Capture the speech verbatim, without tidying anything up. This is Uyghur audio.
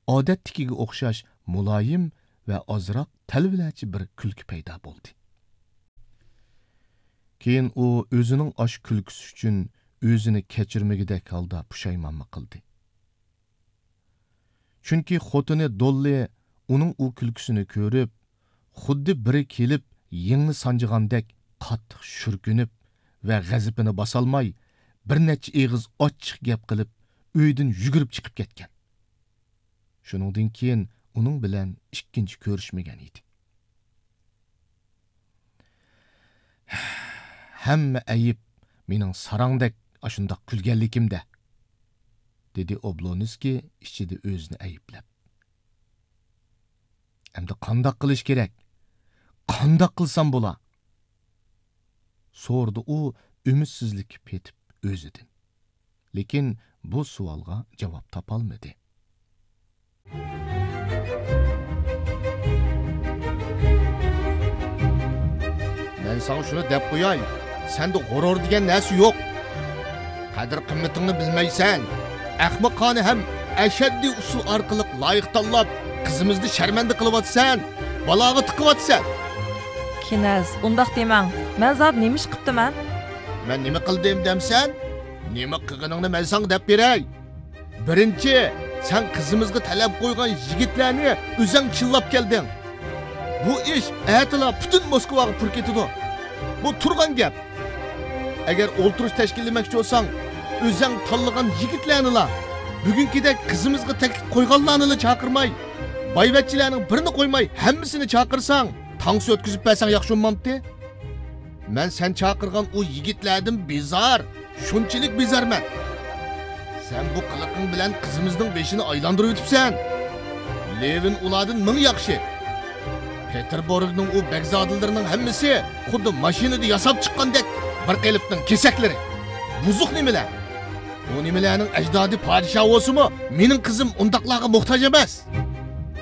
ئادەتتىكىگە ئوخشاش مۇلايىم ۋە ئازراق تەلۋىلەرچە بىر كۈلكە پەيدا بولدى. كېيىن ئۇ ئۆزىنىڭ ئاشۇ كۈلكىسى ئۈچۈن ئۆزىنى كەچۈرمىگۈدەك ھالدا پۇشايمانمۇ قىلدى. چۈنكى خوتۇنى دوللى ئۇنىڭ ئۇ كۈلكىسىنى كۆرۈپ، خۇددى بىرى كېلىپ يىڭنە سانجىغاندەك قاتتىق شۈركۈنۈپ ۋە غەزىپىنى باسالماي، بىر نەچچە ئېغىز ئاچچىق گەپ قىلىپ، ئۆيدىن يۈگۈرۈپ چىقىپ كەتكەن. شۇنىڭدىن كېيىن ئۇنىڭ بىلەن ئىككىنچى كۆرۈشمىگەن ئىدى. «ھەممە ئەيىب مېنىڭ ساراڭدەك ئاشۇنداق كۈلگەنلىكىمدە»، دېدى ئوبلونسكىي ئىچىدە ئۆزىنى ئەيىبلەپ. «ئەمدى قانداق قىلىش كېرەك؟ قانداق قىلسام بولا؟» سورىدى ئۇ ئۈمىدسىزلىككە پېتىپ ئۆزىدىن. لېكىن بۇ سوئالغا جاۋاب تاپالمىدى. مەن ساڭا شۇنى دەپ قوياي، سەندە غۇرۇر دېگەن نەرسە يوق. قەدىر-قىممىتىڭنى بىلمەيسەن. ئەخمىقانە ھەم ئەشەددىي ئۇسۇل ئارقىلىق لايىق تاللاپ، قىزىمىزنى شەرمەندە قىلىۋاتىسەن، بالاغا تىقىۋاتىسەن. كىنەز، ئۇنداق دېمەڭ. مەن زادى نېمە ئىش قىپتىمەن؟ مەن نېمە قىلدىم دەمسەن؟ نېمە قىلغىنىڭنى مەن ساڭا دەپ بېرەي. بىرىنچى، سەن قىزىمىزغا تەلەپ قويغان يىگىتلەرنى ئۆزەڭ چىللاپ كەلدىڭ. بۇ ئىش ئەتىلا پۈتۈن موسكۋاغا پۇر كېتىدۇ. بۇ تۇرغان گەپ. ئەگەر ئولتۇرۇش تەشكىللىمەكچى بولساڭ، ئۆزەڭ تاللىغان يىگىتلەرنىلا، بۈگۈنكىدەك قىزىمىزغا تەكلىپ قويغانلارنىلا چاقىرماي، بايۋەچچىلەرنىڭ بىرىنى قويماي، ھەممىسىنى چاقىرساڭ، تانسا ئۆتكۈزۈپ بەرسەڭ ياخشى بولمامتى؟ مەن سەن چاقىرغان ئۇ يىگىتلەردىن بىزار، شۇنچىلىك بىزارمەن. سەن بۇ قىلىقىڭ بىلەن قىزىمىزنىڭ بېشىنى ئايلاندۇرۇۋېتىپسەن. لېۋىن ئۇلاردىن مىڭ ياخشى. پېتېربۇرگنىڭ ئۇ بەگزادىلىرىنىڭ ھەممىسى خۇددى ماشىنىدا ياساپ چىققاندەك بىر قېلىپنىڭ كېسەكلىرى. بۇزۇق نېمىلەر. ئۇ نېمىلەرنىڭ ئەجدادى پادىشاھ بولسىمۇ، مېنىڭ قىزىم ئۇنداقلارغا موھتاج ئەمەس.